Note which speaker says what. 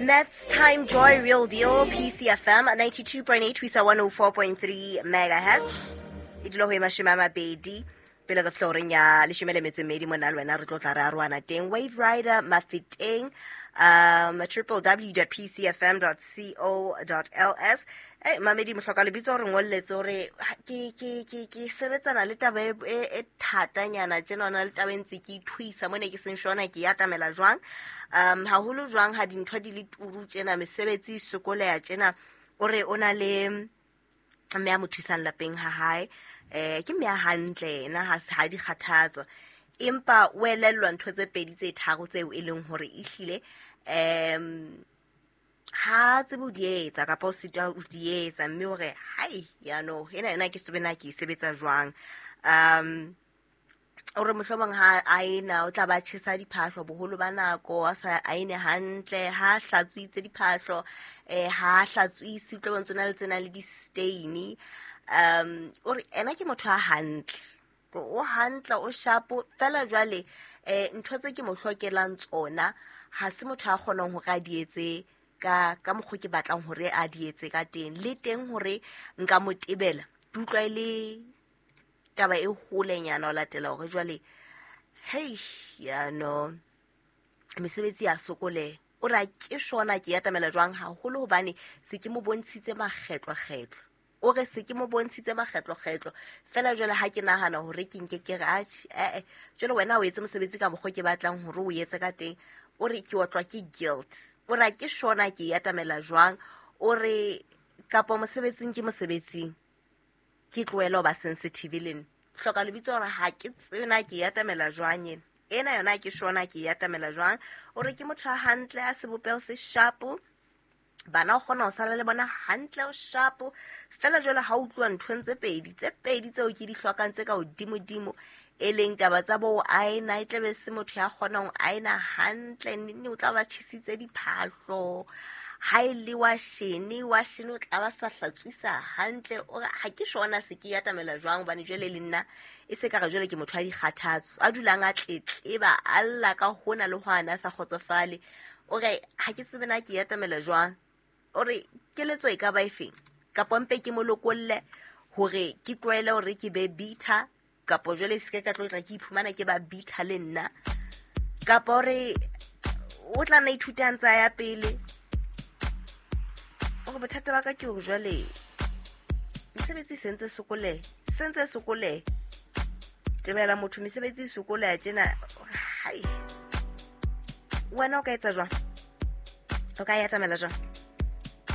Speaker 1: That's Time Joy Real Deal PCFM 92.8 ho isa 104.3 megahertz. E dula ho e 20 pele re floreng ya 12 mona le wena re tlo tla re arohana teng. Wave Rider Mafeteng, www.pcfm.co.ls. Mamedi mohloka lebitso re ngolletse hore ke sebetsana le taba e thatanyana tjena, ona le taba e ntse ke ithuisa mone ke seng shona ke ya atamela jwang. Haholo jwang ha dintho di le turu tjena, mesebetsi e sokoleha tjena. O re o na le mme a mo thusang lapeng ha hae, ke mme a hantle yena, ha di kgathatso, empa o elellwa ntho tse pedi tse tharo tseo e leng hore ehlile ha tsebe ho di etsa kapa o sitwa ho di etsa, mme hore hai yano ena ena ke tsebe na ke e sebetsa jwang. O re mohlomong ha a ena o tla ba tjhesa diphahlo boholo ba nako, a sa aene hantle, ha hlatswitse diphahlo, ha hlatswise, o tlo bo ntso na le tsena le di-stain. O re ena ke motho a hantle, o hantle, o shapo fela. Jwale ntho tse ke mo hlokelang tsona ha se motho a kgonang hore a di etse ka mokgwa ke batlang hore a di etse ka teng, le teng hore nka mo tebela ke utlwa e le taba e holenyana ho latela hore jwale hei yano mesebetsi ya sokoleha. O re ke shona ke atamela jwang haholo hobane se ke mo bontshitse makgetlokgetlo. O re se ke mo bontshitse makgetlokgetlo fela jwale ha ke nahana hore ke nke ke re atjhe jwale wena o etse mosebetsi ka mokgwa ke batlang hore o etse ka teng, o re ke otlwa ke guilt. O re ke shona ke atamela jwang. O re kapa mosebetsing ke mosebetsing ke tlohele ho ba sensitive le nna. Hloka lebitso hore ha ke tsebe na ke atamela jwang ena. Ena yona ke shona ke atamela jwang. O re ke motho a hantle, a sebopeho se shapo, bana o kgona ho sala le bona hantle, o shapo fela. Jwale ha utlwa nthong tse pedi tseo ke di hlokang tse ka hodimodimo, e leng taba tsa bo aena, e tlabe se motho ya kgonang ho aena hantle, nne o tla ba tjhesitse diphahlo, ha e le wa shene o tla ba sa hlatswisa hantle. O re ha ke shona se ke atamela jwang hobane jwale le nna e se ka re jwale ke motho a dikgathatso, a dulang a tletleba, a lla ka hona le hwana, a sa kgotsofale. O re ha ke tsebe na ke atamela jwang. O re keletso e ka ba efeng, kapa mpe ke mo lokolle hore ke tlwaele hore ke be bitter, kapa jwale se ke ka tlo tla ke iphumana ke ba bitter le nna, kapa hore o tla nna ithuta a ntse a ya pele. O re bothata ba ka ke hore jwale mesebetsi e sentse sokole tebela motho, mesebetsi e sokoleha tjena. Hai wena o ka etsa jwang, o ka atamela jwang?